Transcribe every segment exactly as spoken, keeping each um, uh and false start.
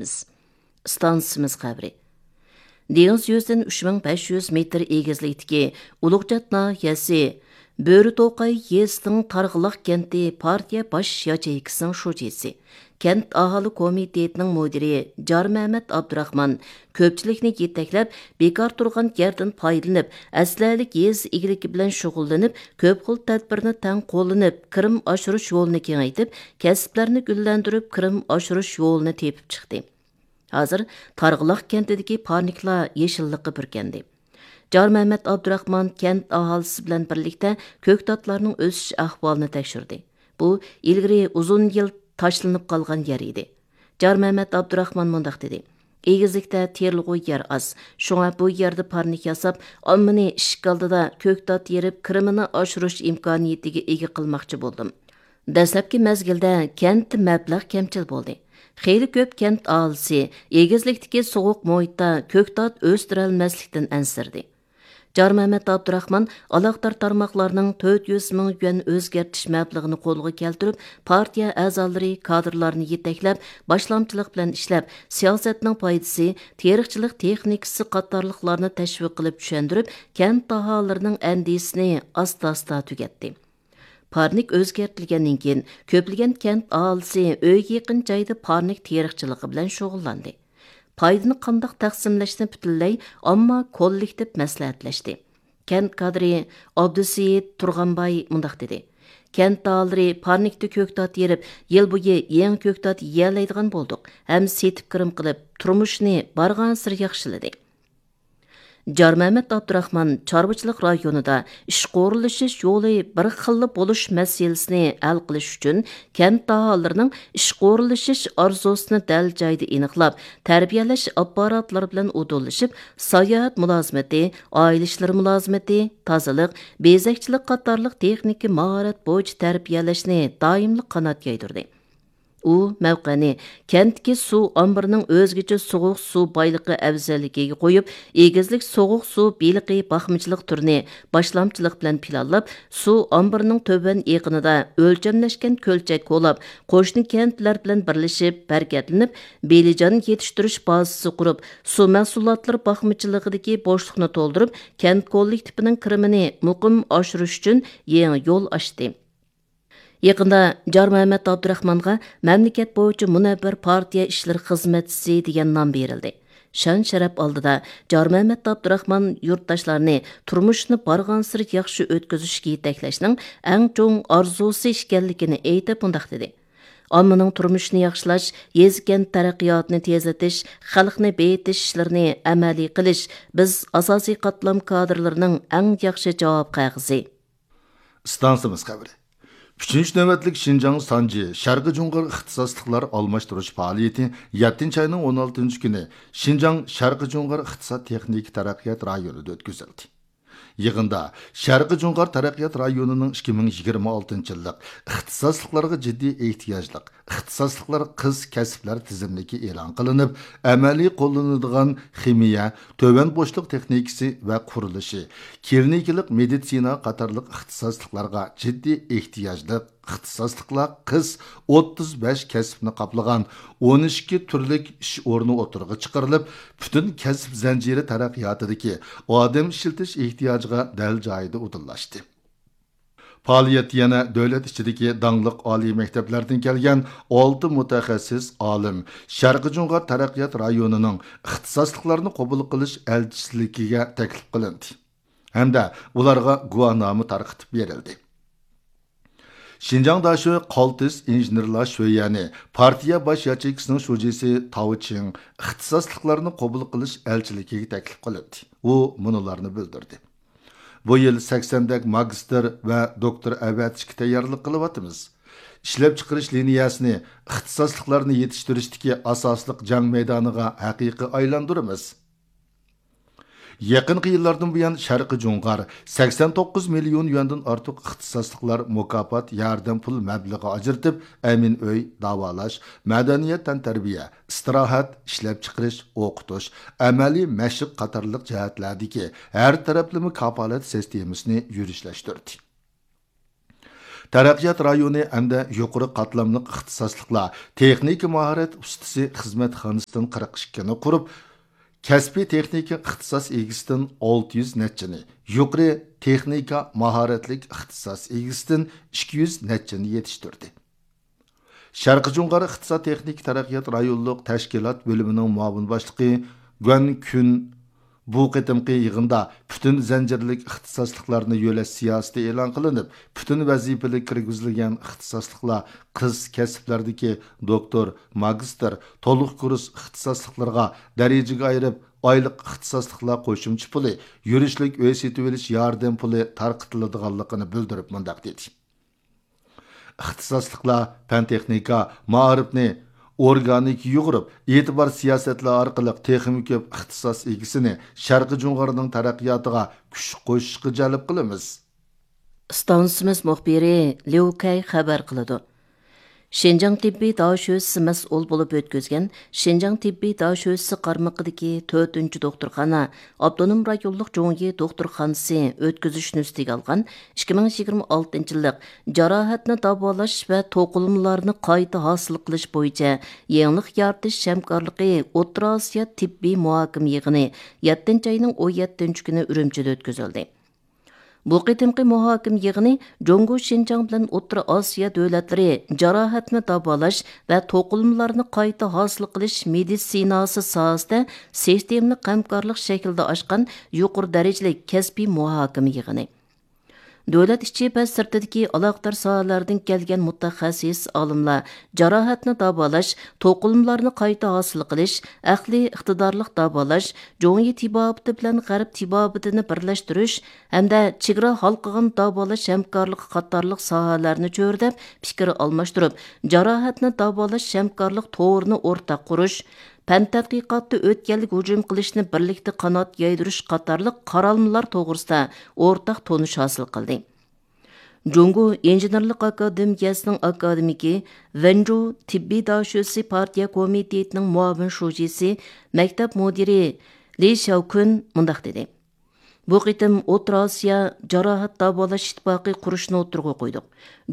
ئىستانسىمىز خەۋىرى. دېڭىز يۈزىدىن ئۈچ مىڭ بەش يۈز مېتىر ئېگىزلىكتىكى ئۇلۇغچات ناھىيەسى بۆرىتوقاي يېزىسىنىڭ تارغىلاق كەنتى پارتىيە باش ياچېيكىسىنىڭ شۇجىسى، كەنت ئاھالە كومىتېتىنىڭ مۇدىرى جارمەمەت ئابدۇراخمان كۆپچىلىكنى يېتەكلەپ، بىكار تۇرغان يەردىن پايدىلىنىپ، ئەسلىھەلىك يېزا ئىگىلىكى بىلەن شۇغۇللىنىپ، كۆپ خىل تەدبىرنى تەڭ قوللىنىپ، كىرىم ئاشۇرۇش يولىنى كېڭەيتىپ، كەسىپلەرنى گۈللەندۈرۈپ، كىرىم ئاشۇرۇش يولىنى تېپىپ چىقتى. ھازىر تارغىلاق كەنتىدىكى پارنىكلار يېشىللىققا بۈركەندى. جارمەمەت ئابدۇراخمان كەنت ئاھالىسى بىلەن بىرلىكتە كۆكتاتلارنىڭ ئۆسۈش ئەھۋالىنى تەكشۈردى. بۇ ئىلگىرى ئۇزۇن يىل تاشلىنىپ قالغان يەر ئىدى. جارمەمەت ئابدۇراخمان مۇنداق دېدى: «ئېگىزلىكتە تېرىلغۇ يەر ئاز، شۇڭا بۇ يەردە پارنىك ياساپ، ئاممىنى ئىشىك ئالدىدا كۆكتات يېرىپ، كىرىمىنى ئاشۇرۇش ئىمكانىيىتىگە ئىگە قىلماقچى بولدۇم.» دەسلەپكى مەزگىلدە كەنتتە مەبلەغ كەمچىل بولدى. خېلى كۆپ كەنت ئاھالىسى ئېگىزلىكتىكى سوغۇق مۇھىتتا كۆكتات ئۆستۈرەلمەسلىكتىن ئەنسىرىدى. جارمەمەت ئابدۇراخمان ئالاقىدار تارماقلارنىڭ تۆت يۈز مىڭ يۈەن ئۆزگەرتىش مەبلىغىنى قولغا كەلتۈرۈپ، پارتىيە ئەزالىرى، كادىرلارنى يېتەكلەپ، باشلامچىلىق بىلەن ئىشلەپ، سىياسەتنىڭ پايدىسى، تېرىقچىلىق تېخنىكىسى قاتارلىقلارنى تەشۋىق قىلىپ چۈشەندۈرۈپ، كەنت ئاھالىلىرىنىڭ ئەندىشىسىنى ئاستا-ئاستا تۈگەتتى. پارنىك ئۆزگەرتىلگەندىن كېيىن، كۆپلىگەن كەنت ئاھالىسى ئۆيگە يېقىن جايدا پارنىك تېرىقچىلىقى بىلەن شۇغۇللاندى. پايدىنى قانداق تەقسىملەشنى پۈتۈنلەي ئامما كوللېكتىپ مەسلىھەتلەشتى. كەنت كادىرى ئابدۇسېيىت تۇرغانباي مۇنداق دېدى: «كەنت ئاھالىلىرى پارنىكتا كۆكتات يېرىپ، يىل بويى يېڭى كۆكتات يېيەلەيدىغان بولدۇق ھەم سېتىپ كىرىم قىلىپ، تۇرمۇشىنى بارغانسېرى ياخشىلىدى.» جارمەمەت ئابدۇراخمان چارۋىچىلىق رايونىدا ئىشقا ئورۇنلىشىش يولى بىر خىللا بولۇش مەسىلىسىنى ھەل قىلىش ئۈچۈن، كەنت ئاھالىلىرىنىڭ ئىشقا ئورۇنلىشىش ئارزۇسىنى دەل جايىدا ئېنىقلاپ، تەربىيەلەش ئاپپاراتلىرى بىلەن ئۇدۇللىشىپ، ساياھەت مۇلازىمىتى، ئائىلە ئىشلىرى مۇلازىمىتى، تازىلىق، بېزەكچىلىك قاتارلىق تېخنىكا ماھارەت بويىچە تەربىيەلەشنى دائىملىق قانات يايدۇردى. ئۇ مەۋقەنى كەنتتىكى سۇ ئامبىرىنىڭ ئۆزگىچە سوغۇق سۇ بايلىقى ئەۋزەللىكىگە قويۇپ، ئېگىزلىك سوغۇق سۇ بېلىقى باقمىچىلىق تۈرىنى باشلامچىلىق بىلەن پىلانلاپ، سۇ ئامبىرىنىڭ تۆۋەن ئېقىنىدا ئۆلچەملەشكەن كۆلچەك كولاپ، قوشنا كەنتلەر بىلەن بىرلىشىپ ھەرىكەتلىنىپ، بېلىجان يېتىشتۈرۈش بازىسى قۇرۇپ، سۇ مەھسۇلاتلىرى باقمىچىلىقىدىكى بوشلۇقنى تولدۇرۇپ، كەنت كوللېكتىپىنىڭ كىرىمىنى مۇقىم ئاشۇرۇش ئۈچۈن يېڭى يول ئاچتى. يېقىندا جارمەمەت ئابدۇراخمانغا مەملىكەت بويىچە مۇنەۋۋەر پارتىيە ئىشلىرى خىزمەتچىسى دېگەن نام بېرىلدى. شان-شەرەپ ئالدىدا جارمەمەت ئابدۇراخمان يۇرتداشلارنى تۇرمۇشنى بارغانسېرى ياخشى ئۆتكۈزۈشكە يېتەكلەشنىڭ ئەڭ چوڭ ئارزۇسى ئىكەنلىكىنى ئېيتىپ، مۇنداق دېدى: «ئاممىنىڭ تۇرمۇشىنى ياخشىلاش، يېزا-كەنت تەرەققىياتىنى تېزلىتىش، خەلقنى بېيىتىش ئىشلىرىنى ئەمەلىي قىلىش بىز ئاساسىي قاتلام كادىرلىرىنىڭ ئەڭ ياخشى جاۋاب قەغىزى.» ئىستانسىمىز خەۋىرى. ئۈچىنچى نۆۋەتلىك شىنجاڭ سانجى شەرقىي جۇڭغار ئىختىساسلىقلار ئالماشتۇرۇش پائالىيىتى يەتتىنچى ئاينىڭ ئون ئالتىنچى كۈنى شىنجاڭ شەرقىي جۇڭغار ئىقتىساد تېخنىكا تەرەققىيات رايونىدا ئۆتكۈزۈلدى. يىغىندا شەرقىي جۇڭغار تەرەققىيات رايونىنىڭ ئىككى مىڭ يىگىرمە ئالتىنچى يىللىق ئىختىساسلىقلارغا جىددىي ئېھتىياجلىق ئىختىساسلىقلار قىس كەسىپلەر تىزىملىكى ئېلان قىلىنىپ، ئەمەلىي قوللىنىدىغان خىمىيە، تۆۋەن بوشلۇق تېخنىكىسى ۋە قۇرۇلۇشى، كلىنىكىلىق مېدىتسىنا قاتارلىق ئىختىساسلىقلارغا جىددىي ئېھتىياجلىق ئىختىساسلىقلار قىس ئوتتۇز بەش كەسىپنى قاپلىغان ئون ئىككى تۈرلۈك ئىش ئورنى ئوتتۇرىغا چىقىرىلىپ، پۈتۈن كەسىپ زەنجىرى تەرەققىياتىدىكى ئادەم ئىشلىتىش ئېھتىياجىغا دەل جايىدا ئۇدۇللاشتى. پائالىيەتتە يەنە دۆلەت ئىچىدىكى داڭلىق ئالىي مەكتەپلەردىن كەلگەن ئالتە مۇتەخەسسىس ئالىم شەرقىي جۇڭغار تەرەققىيات رايونىنىڭ ئىختىساسلىقلارنى قوبۇل قىلىش ئەلچىسىلىكىگە تەكلىپ قىلىندى ھەمدە ئۇلارغا گۇۋاھنامە تارقىتىپ بېرىلدى. شىنجاڭ داشۆ قالتىس ئىنژېنېرلار شۆيۈەنى پارتىيە باش ياچېيكىسىنىڭ شۇجىسى تاۋ چىڭ ئىختىساسلىقلارنى قوبۇل قىلىش ئەلچىلىكىگە تەكلىپ قىلىندى. ئۇ مۇنۇلارنى بىلدۈردى: بۇ يىل سەكسەندەك ماگىستىر ۋە دوكتور ئەۋەتىشكە تەييارلىق قىلىۋاتىمىز. ئىشلەپچىقىرىش لىنىيەسىنى ئىختىساسلىقلارنى يېتىشتۈرۈشتىكى ئاساسلىق جەڭ مەيدانىغا ھەقىقىي ئايلاندۇرىمىز. يېقىنقى يىللاردىن بۇيان، شەرقىي جۇڭغار سەكسەن توققۇز مىليون يۈەندىن ئارتۇق ئىختىساسلىقلار مۇكاپات، ياردەم پۇل مەبلىغى ئاجرىتىپ، ئەمىن ئۆي، داۋالاش، مەدەنىيەت، تەنتەربىيە، ئىستىراھەت، ئىشلەپچىقىرىش، ئوقۇتۇش، ئەمەلىي مەشىق قاتارلىق جەھەتلەردىكى ھەر تەرەپلىمە كاپالەت سىستېمىسىنى يۈرۈشلەشتۈردى. تەرەققىيات رايونى ھەمدە يۇقىرى قاتلاملىق ئىختىساسلىقلار تېخنىكا ماھارەت ئۇستىسى خىزمەتخانىسىدىن قىرىق ئىككىنى قۇرۇپ، كەسپىي تېخنىكا ئىختىساس ئىگىسىدىن ئالتە يۈز نەچچىنى، يۇقىرى تېخنىكا ماھارەتلىك ئىختىساس ئىگىسىدىن ئىككى يۈز نەچچىنى يېتىشتۈردى. شەرقىي جۇڭغار ئىقتىساد تېخنىكا تەرەققىيات رايونلۇق تەشكىلات بۆلۈمىنىڭ مۇئاۋىن باشلىقى گۇەن كۈن بۇ قېتىمقى يىغىندا پۈتۈن زەنجىرلىك ئىختىساسلىقلارنى يۆلەش سىياسىتى ئېلان قىلىنىپ، پۈتۈن ۋەزىپىلىك كىرگۈزۈلگەن ئىختىساسلىقلار قىس كەسىپلەردىكى دوكتور، ماگىستىر، تولۇق كۇرس ئىختىساسلىقلىرىغا دەرىجىگە ئايرىپ، ئايلىق ئىختىساسلىقلار قوشۇمچە پۇلى، يۈرۈشلۈك ئۆي سېتىۋېلىش ياردەم پۇلى تارقىتىلىدىغانلىقىنى بىلدۈرۈپ مۇنداق دېدى. ئىختىساسلىقلار پەن-تېخنىكا، مائارىپنى ئورگانىك يۇغۇرۇپ، ئېتىبار سىياسەتلەر ئارقىلىق تېخىمۇ كۆپ ئىختىساس ئىگىسىنى شەرقىي جۇڭغارنىڭ تەرەققىياتىغا كۈچ قوشۇشقا جەلپ قىلىمىز. ئىستانسىمىز مۇخبىرى ليۇ كەي خەۋەر قىلىدۇ. شىنجاڭ تېببىي داشۆسى مەسئۇل بولۇپ ئۆتكۈزگەن شىنجاڭ تېببىي داشۆسى قارمىقىدىكى تۆتىنچى دوختۇرخانا ئاپتونوم رايونلۇق جۇڭيى دوختۇرخانىسى ئۆتكۈزۈش نۆۋىتىگە ئالغان ئىككى مىڭ يىگىرمە ئالتىنچى يىللىق جاراھەتنى داۋالاش ۋە توقۇلمىلارنى قايتا ھاسىل قىلىش بويىچە يېڭىلىق يارىتىش ھەمكارلىقى ئوتتۇرا ئاسىيا تېببىي مۇھاكىمە يىغىنى يەتتىنچى ئاينىڭ ئون يەتتىنچى كۈنى ئۈرۈمچىدە ئۆتكۈزۈلدى. بۇ قېتىمقى مۇھاكىمە يىغىنى جۇڭگو شىنجاڭ بىلەن ئوتتۇرا ئاسىيا دۆلەتلىرى جاراھەتنى داۋالاش ۋە توقۇلمىلارنى قايتا ھاسىل قىلىش مېدىتسىناسى ساھەسىدە سىستېمىلىق ھەمكارلىق شەكلىدە ئاچقان يۇقىرى دەرىجىلىك كەسپىي مۇھاكىمە يىغىنى. دۆلەت ئىچى ۋە سىرتىدىكى ئالاقىدار ساھەلەردىن كەلگەن مۇتەخەسسىس ئالىملار جاراھەتنى داۋالاش، توقۇلمىلارنى قايتا ھاسىل قىلىش، ئەقلىي ئىقتىدارلىق داۋالاش، جۇڭيى تېبابىتى بىلەن غەرب تېبابىتىنى بىرلەشتۈرۈش ھەمدە چېگرا ھالقىغان داۋالاش ھەمكارلىقى قاتارلىق ساھەلەرنى چۆرىدەپ پىكىر ئالماشتۇرۇپ، جاراھەتنى داۋالاش ھەمكارلىق تورىنى ئورتاق قۇرۇش، پەن تەتقىقاتتا ئۆتكەللىك ھۇجۇم قىلىشنى بىرلىكتە قانات يايدۇرۇش قاتارلىق قارالمىلار توغرىسىدا ئورتاق تونۇش ھاسىل قىلدى. جۇڭگو ئىنژېنېرلىق ئاكادېمىيەسىنىڭ ئاكادېمىكى، ۋېنجۇ تېببىي داشۆسى پارتىيە كومىتېتىنىڭ مۇئاۋىن شۇجىسى، مەكتەپ مۇدىرى لى شياۋكۈن مۇنداق دېدى: بۇ قېتىم ئوتتۇرا ئاسىيا جاراھەت داۋالاش ئىتتىپاقى قۇرۇشنى ئوتتۇرىغا قويدۇق.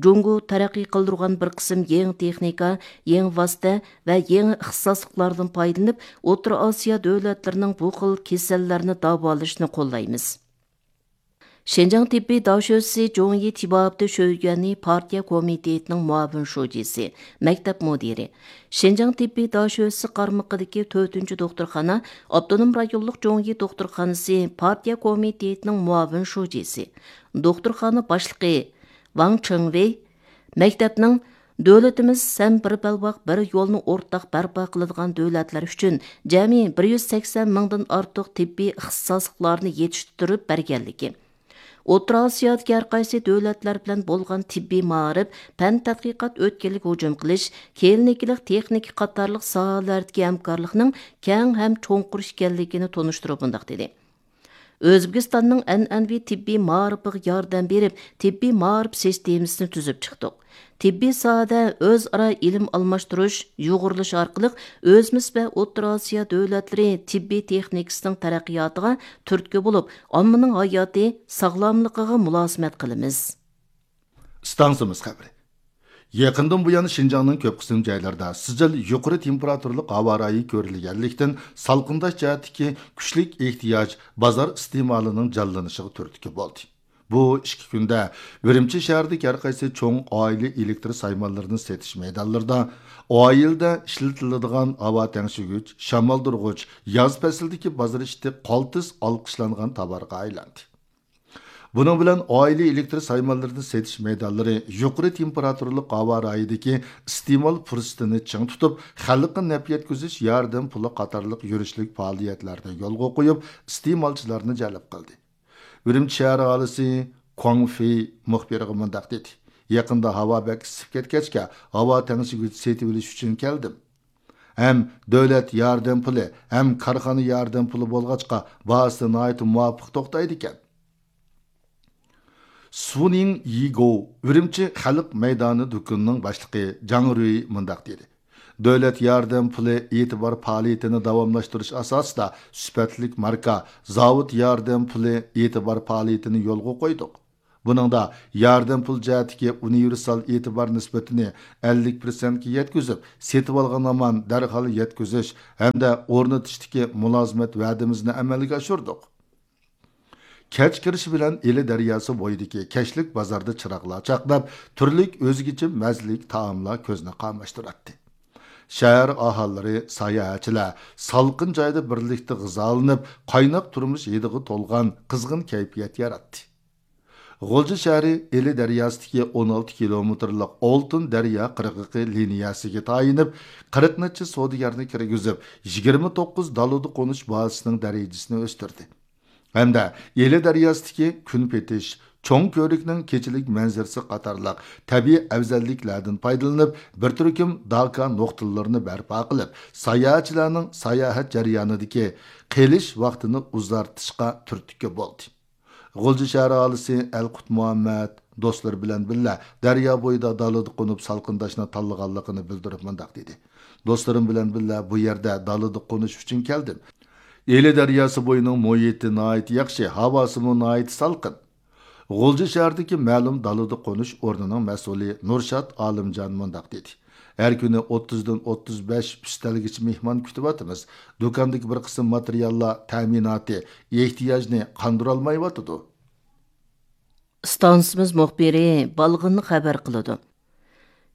جۇڭگو تەرەققىي قىلدۇرغان بىر قىسىم يېڭى تېخنىكا، يېڭى ۋاسىتە ۋە يېڭى ئىختىساسلىقلاردىن پايدىلىنىپ، ئوتتۇرا ئاسىيا دۆلەتلىرىنىڭ بۇ خىل كېسەللەرنى داۋالىشىنى قوللايمىز. شىنجاڭ تېببىي داشۆسى جۇڭيى تېبابىتى شۆيۈەنى پارتىيە كومىتېتىنىڭ مۇئاۋىن شۇجىسى، مەكتەپ مۇدىرى، شىنجاڭ تېببىي داشۆسى قارمىقىدىكى تۆتىنچى دوختۇرخانا ئاپتونوم رايونلۇق جۇڭيى دوختۇرخانىسى پارتىيە كومىتېتىنىڭ مۇئاۋىن شۇجىسى، دوختۇرخانا باشلىقى ۋاڭ چېڭۋېي، مەكتەپنىڭ دۆلىتىمىز ھەم بىر بەلباغ، بىر يولنى ئورتاق بەرپا قىلىدىغان دۆلەتلەر ئۈچۈن جەمئىي بىر يۈز سەكسەن مىڭدىن ئارتۇق تېببىي ئىختىساسلىقلارنى يېتىشتۈرۈپ بەرگەنلىكى، ئوتتۇرا ئاسىيادىكى ھەر قايسى دۆلەتلەر بىلەن بولغان تېببىي مائارىپ، پەن تەتقىقات ئۆتكەللىك ھۇجۇم قىلىش، كىلىنىكىلىق تېخنىكا قاتارلىق ساھەلەردىكى ھەمكارلىقنىڭ كەڭ ھەم چوڭقۇر ئىكەنلىكىنى تونۇشتۇرۇپ مۇنداق دېدى: ئۆزبېكىستاننىڭ ئەنئەنىۋى تېببىي مائارىپىغا ياردەم بېرىپ، تېببىي مائارىپ سىستېمىسىنى تۈزۈپ چىقتۇق. تېببىي ساھەدە ئۆزئارا ئىلىم ئالماشتۇرۇش، يۇغۇرۇلۇش ئارقىلىق ئۆزىمىز ۋە ئوتتۇرا ئاسىيا دۆلەتلىرى تېببىي تېخنىكىسىنىڭ تەرەققىياتىغا تۈرتكە بولۇپ، ئاممىنىڭ ھاياتى، ساغلاملىقىغا مۇلازىمەت قىلىمىز. ئىستانسىمىز خەۋىرى. يېقىندىن بۇيان شىنجاڭنىڭ كۆپ قىسىم جايلىرىدا سىجىل يۇقىرى تېمپېراتۇرىلىق ھاۋا رايى كۆرۈلگەنلىكتىن، سالقىنداش جەھەتتىكى كۈچلۈك ئېھتىياج بازار ئىستېمالىنىڭ جانلىنىشىغا تۈرتكە بولدى. بۇ ئىككى كۈندە ئۈرۈمچى شەھىرىدىكى ھەر قايسى چوڭ ئائىلە ئېلېكتر سايمانلىرىنى سېتىش مەيدانلىرىدا ئائىلىدە ئىشلىتىلىدىغان ھاۋا تەڭشىگۈچ، شامالدۇرغۇچ، ياز پەسلىدىكى بازار ئىشى قالتىس ئالقىشلانغان تاۋارغا ئايلاندى. بۇنىڭ بىلەن ئائىلە ئېلېكتر سايمانلىرىنى سېتىش مەيدانلىرى يۇقىرى تېمپېراتۇرىلىق ھاۋا رايىدىكى ئىستېمال پۇرسىتىنى چىڭ تۇتۇپ، خەلققە نەپ يەتكۈزۈش ياردەم پۇلى قاتارلىق يۈرۈشلۈك پائالىيەتلەرنى يولغا قويۇپ، ئىستېمالچىلارنى جەلپ قىلدى. ئۈرۈمچى شەھەر ئاھالىسى كۇاڭ فېي مۇخبىرغا مۇنداق دېدى: يېقىندا ھاۋا بەك ئىسسىپ كەتكەچكە، ھاۋا تەڭشىگۈچ سېتىۋېلىش ئۈچۈن كەلدىم. ھەم دۆلەت ياردەم پۇلى، ھەم كارخانا ياردەم پۇلى بولغاچقا، باھاسى ناھايىتى مۇۋاپىق توختايدىكەن. سۇنىڭ يىگو، ئۈرۈمچى خەلق مەيدانى دۇكىنىنىڭ باشلىقى جاڭ رۈي مۇنداق دېدى: دۆلەت ياردەم پۇلى ئېتىبار پائالىيىتىنى داۋاملاشتۇرۇش ئاساسىدا، سۈپەتلىك ماركا، زاۋۇت ياردەم پۇلى ئېتىبار پائالىيىتىنى يولغا قويدۇق. بۇنىڭدا ياردەم پۇل جەھەتتىكى ئۇنىۋېرسال ئېتىبار نىسبىتىنى ئەللىك پىرسەنتكە يەتكۈزۈپ، سېتىۋالغان ھامان دەرھال يەتكۈزۈش ھەمدە ئورنىتىشتىكى مۇلازىمەت ۋەدىمىزنى ئەمەلگە ئاشۇردۇق. كەچ كىرىشى بىلەن ئىلى دەرياسى بويىدىكى كەچلىك بازاردا چىراغلار چاقناپ، تۈرلۈك ئۆزگىچە مەززىلىك تائاملار كۆزنى قاماشتۇراتتى. شەھەر ئاھالىلىرى، ساياھەتچىلەر سالقىن جايدا بىرلىكتە غىزالىنىپ، قايناق تۇرمۇش ھىدىغا تولغان قىزغىن كەيپىيات ياراتتى. غۇلجا شەھىرى ئىلى دەرياسىدىكى ئون ئالتە كىلومېتىرلىق ئالتۇن دەريا قىرغىقى لىنىيەسىگە تايىنىپ، قىرىق نەچچە سودىگەرنى كىرگۈزۈپ، يىگىرمە توققۇز دالىدا قونۇش بازىسىنىڭ دەرىجىسىنى ئۆستۈردى. ھەمدە ئىلى دەرياسىدىكى كۈن پېتىش، چوڭ كۆۋرۈكنىڭ كېچىلىك مەنزىرىسى قاتارلىق تەبىئىي ئەۋزەللىكلەردىن پايدىلىنىپ، بىر تۈركۈم داكا نۇقتىلىرىنى بەرپا قىلىپ، ساياھەتچىلەرنىڭ ساياھەت جەريانىدىكى قېلىش ۋاقتىنى ئۇزارتىشقا تۈرتكە بولدى. غۇلجا شەھەر ئاھالىسى ئەلقۇت مۇھەممەد دوستلىرى بىلەن بىللە دەريا بويىدا دالىدا قونۇپ سالقىنداشنى تاللىغانلىقىنى بىلدۈرۈپ مۇنداق دېدى: «دوستلىرىم بىلەن بىللە بۇ يەردە دالىدا قونۇش ئۈچۈن كەلدىم. ئىلى دەرياسى بويىنىڭ مۇھىتى ناھايىتى ياخشى، ھاۋاسىمۇ ناھايىتى سالقىن.» غۇلجا شەھىرىدىكى مەلۇم دالىدا قونۇش ئورنىنىڭ مەسئۇلى نۇرشات ئالىمجان مۇنداق دېدى: «ھەر كۈنى ئوتتۇزدىن ئوتتۇز بەش ئۈستەلگىچە مېھمان كۈتۈۋاتىمىز. دۇكاندىكى بىر قىسىم ماتېرىياللار تەمىناتى ئېھتىياجنى قاندۇرالمايۋاتىدۇ.» ئىستانسىمىز مۇخبىرى بالغىننى خەۋەر قىلىدۇ.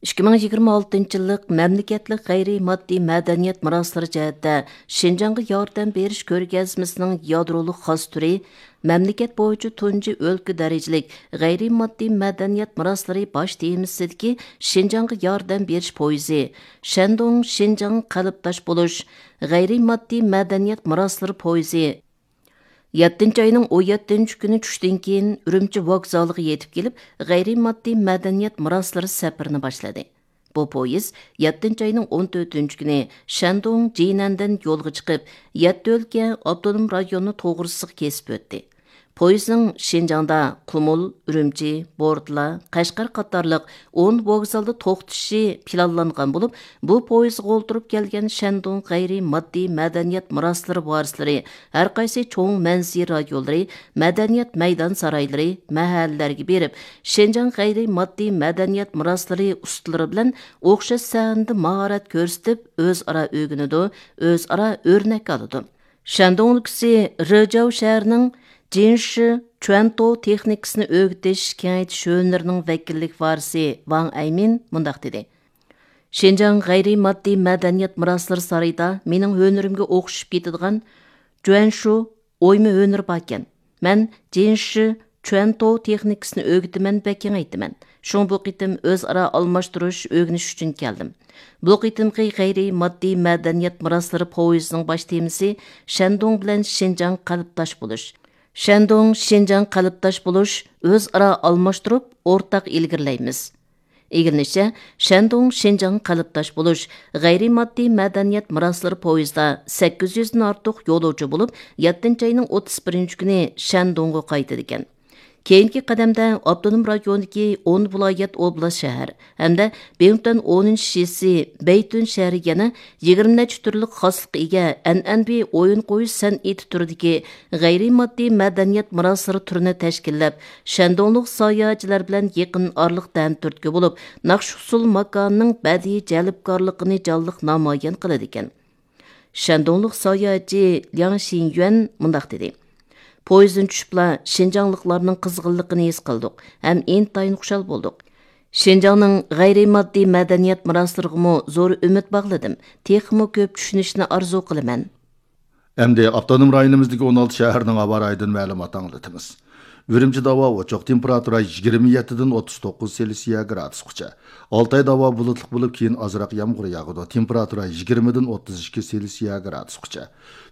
ئىككى مىڭ يىگىرمە ئالتىنچى يىللىق مەملىكەتلىك غەيرىي ماددىي مەدەنىيەت مۇراسلىرى جەھەتتە شىنجاڭغا ياردەم بېرىش كۆرگەزمىسىنىڭ يادرولۇق خاس تۈرى، مەملىكەت بويىچە تۇنجى ئۆلكە دەرىجىلىك غەيرىي ماددىي مەدەنىيەت مۇراسلىرى باش تېمىسىدىكى شىنجاڭغا ياردەم بېرىش پويىزى، شەندۇڭ شىنجاڭ قەلبداش بولۇش غەيرىي ماددىي مەدەنىيەت مۇراسلىرى پويىزى، يەتتىنچى ئاينىڭ ئون يەتتىنچى كۈنى چۈشتىن كېيىن ئۈرۈمچى ۋوگزالىغا يېتىپ كېلىپ، غەيرىي ماددىي مەدەنىيەت مىراسلىرى سەپىرىنى باشلىدى. بۇ پويىز يەتتىنچى ئاينىڭ ئون تۆتىنچى كۈنى شەندۇڭ جىنەندىن يولغا چىقىپ، يەتتە ئۆلكە ئاپتونوم رايوننى توغرىسىغا كېسىپ ئۆتتى. پويىزنىڭ شىنجاڭدا قۇمۇل، ئۈرۈمچى، بورتالا، قەشقەر قاتارلىق ئون ۋوگزالدا توختىشى پىلانلانغان بولۇپ، بۇ پويىزغا ئولتۇرۇپ كەلگەن شەندۇڭ غەيرىي ماددىي مەدەنىيەت مىراسلىرى ۋارىسلىرى ھەر قايسى چوڭ مەنزىرە رايونلىرى، مەدەنىيەت مەيدان سارايلىرى، مەھەللىلەرگە بېرىپ، شىنجاڭ غەيرىي ماددىي مەدەنىيەت مىراسلىرى ئۇستىلىرى بىلەن ئوخشاش سەھنىدە ماھارەت كۆرسىتىپ، ئۆزئارا ئۆگىنىدۇ، ئۆزئارا ئۆرنەك ئالىدۇ. شەندۇڭ ئۆلكىسى رېجاۋ شەھىرىنىڭ جىنشى چۈەنتو تېخنىكىسىنى ئۆگىتىش كېڭەيتىش ھۈنىرىنىڭ ۋەكىللىك ۋارىسى ۋاڭ ئەيمىن مۇنداق دېدى: «شىنجاڭ غەيرىي ماددىي مەدەنىيەت مىراسلىرى سارىيىدا مېنىڭ ھۈنىرىمگە ئوخشىشىپ كېتىدىغان جۈەنشۇ ئويما ھۈنىرى باركەن. مەن جىنشى چۈەنتو تېخنىكىسىنى ئۆگىتىمەن ۋە كېڭەيتىمەن. شۇڭا بۇ قېتىم ئۆزئارا ئالماشتۇرۇش، ئۆگىنىش ئۈچۈن كەلدىم.» بۇ قېتىمقى غەيرىي ماددىي مەدەنىيەت مىراسلىرى پويىزىنىڭ باش تېمىسى شەندۇڭ بىلەن شىنجاڭ قەلبداش بولۇش. شەندۇڭ شىنجاڭ قەلبداش بولۇش، ئۆزئارا ئالماشتۇرۇپ، ئورتاق ئىلگىرىلەيمىز. ئىگىلىنىشىچە، شەندۇڭ شىنجاڭ قەلبداش بولۇش غەيرىي ماددىي مەدەنىيەت مىراسلىرى پويىزىدا سەككىز يۈزدىن ئارتۇق يولۇچى بولۇپ، يەتتىنچى ئاينىڭ ئوتتۇز بىرىنچى كۈنى شەندۇڭغا قايتىدىكەن. كېيىنكى قەدەمدە ئاپتونوم رايوندىكى ئون ۋىلايەت، ئوبلاست، شەھەر ھەمدە بىڭتۈەن ئونىنچى شىسى بەيتۈن شەھىرى يەنە يىگىرمە نەچچە تۈرلۈك خاسلىققا ئىگە ئەنئەنىۋى ئويۇن قويۇش سەنئىتى تۈرىدىكى غەيرىي ماددىي مەدەنىيەت مىراسلىرى تۈرىنى تەشكىللەپ، شەندۇڭلۇق ساياھەتچىلەر بىلەن يېقىن ئارىلىقتا ھەمتۈرتكە بولۇپ، ناخشا ئۇسسۇل ماكانىنىڭ بەدىئىي جەلپكارلىقىنى جانلىق نامايان قىلىدىكەن. شەندۇڭلۇق ساياھەتچى لياڭ شىنيۈەن مۇنداق دېدى: «پويىزدىن چۈشۈپلا شىنجاڭلىقلارنىڭ قىزغىنلىقىنى ھېس قىلدۇق ھەم ئىنتايىن خۇشال بولدۇق. شىنجاڭنىڭ غەيرىي ماددىي مەدەنىيەت مىراسلىرىغىمۇ زور ئۈمىد باغلىدىم. تېخىمۇ كۆپ چۈشىنىشنى ئارزۇ قىلىمەن.» ئەمدى ئاپتونوم رايونىمىزدىكى ئون ئالتە شەھەرنىڭ ھاۋا رايىدىن مەلۇمات ئاڭلىتىمىز. ئۈرۈمچىدە ھاۋا ئوچۇق، تېمپېراتۇرا يىگىرمە يەتتىدىن ئوتتۇز توققۇز سېلسىيە گرادۇسقىچە. ئالتايدا ھاۋا بۇلۇتلۇق بولۇپ، كېيىن ئازراق يامغۇر ياغىدۇ، تېمپېراتۇرا يىگىرمىدىن ئوتتۇز ئىككى سېلسىيە گرادۇسقىچە.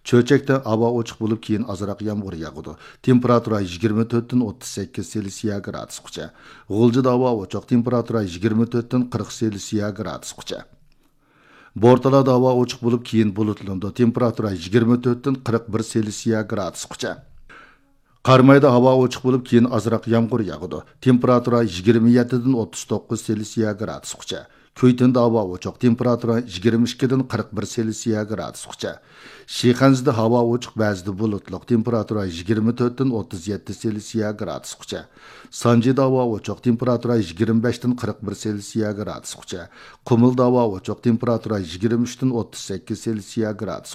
چۆچەكتە ھاۋا ئوچۇق بولۇپ، كېيىن ئازراق يامغۇر ياغىدۇ، تېمپېراتۇرا يىگىرمە تۆتتىن ئوتتۇز سەككىز سېلسىيە گرادۇسقىچە. غۇلجىدا ھاۋا ئوچۇق، تېمپېراتۇرا يىگىرمە تۆتتىن قىرىق سېلسىيە گرادۇسقىچە. بورتالادا ھاۋا ئوچۇق بولۇپ، كېيىن بۇلۇتلىنىدۇ، تېمپېراتۇرا يىگىرمە تۆتتىن قىرىق بىر سېلسىيە گرادۇسقىچە. قارامايدا ھاۋا ئوچۇق بولۇپ، كېيىن ئازراق يامغۇر ياغىدۇ، تېمپېراتۇرا يىگىرمە يەتتىدىن ئوتتۇز توققۇز سېلسىيە گرادۇسقىچە. كۈيتۈندە ھاۋا ئوچۇق، تېمپېراتۇرا يىگىرمە ئىككىدىن قىرىق بىر سېلسىيە گرادۇسقىچە. شىخەنزىدە ھاۋا ئوچۇق، بەزىدە بۇلۇتلۇق، تېمپېراتۇرا يىگىرمە تۆتتىن ئوتتۇز يەتتە سېلسىيە گرادۇسقىچە. سانجىدا ھاۋا ئوچۇق، تېمپېراتۇرا يىگىرمە بەشتىن قىرىق بىر سېلسىيە گرادۇسقىچە. قۇمۇلدا ھاۋا ئوچۇق، تېمپېراتۇرا يىگىرمە ئۈچتىن ئوتتۇز سەككىز سېلسىيە گرادۇسقىچە.